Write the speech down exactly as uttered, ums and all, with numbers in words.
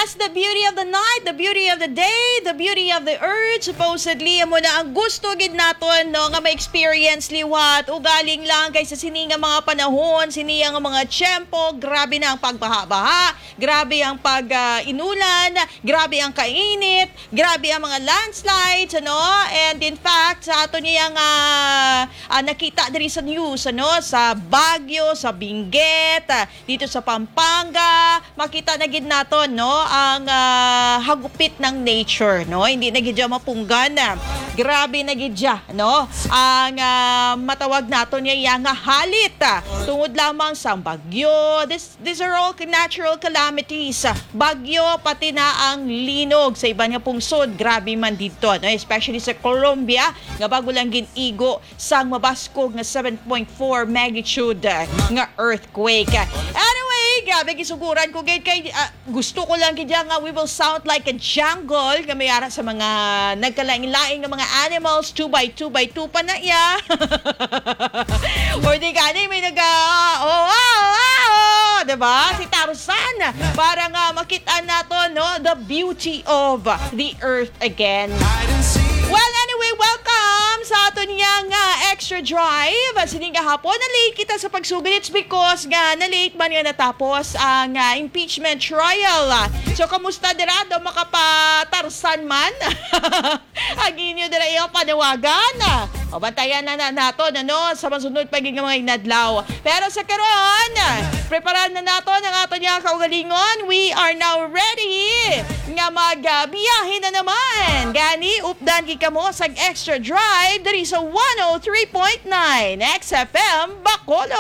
The beauty of the night, the beauty of the day, the beauty of the earth. Supposedly, amo na ang gusto gid naton, no, nga ma-experience liwat. Ugaling lang kay sa sini nga mga panahon, sini nga mga tiyempo, grabe na ang pagbaha-baha, grabe ang pag, ah, inulan, grabe ang kainit, grabe ang mga landslides, ano? And in fact, sa ato niya nga, ah, nakita diri sa news, ano, sa Baguio, sa Benguet, ah, dito sa Pampanga, makita na gid naton, no, ang, ah, hagupit ng nature, no? Hindi na gid siya mapunggan. Grabe na gid siya, no? Ang, ah, matawag naton niya iya nga halit, ah, tungod lamang sa bagyo. This, these are all natural calamities. Bagyo, pati na ang linog sa iban nga pungsod. Grabe man didto, no? Especially sa Colombia, nga bago lang gin-igo sang mabaskog nga seven point four magnitude, ah, nga earthquake. Anyway, grabe, gisuguran ko gid kay, ah, gusto ko lang gid nga we will sound like a jungle nga may ara sa mga nagkalain-lain nga mga animals, two by two by two pa na iya. Or di gani may naga, oh, oh, oh, oh, diba? Si Tarzan, para nga makita nato, no, the beauty of the earth again. Well, anyway, welcome sa aton niya nga extra drive. Sini nga hapon, na-late kita sa pagsugod. It's because nga na-late man nga natapos ang, ah, impeachment trial. So, kamusta dira? Do makapatarsan man ang inyo dira iyang panawagan? Pabantayan na, na nato, ano, sa masunod pa gid nga mga inadlaw. Pero sa karon, preparan na nato ang ato niya kaugalingon. We are now ready nga magbiyahe na naman. Gani, updan gid kamo sa Extra Drive diri sa one oh three point nine X F M Bacolod.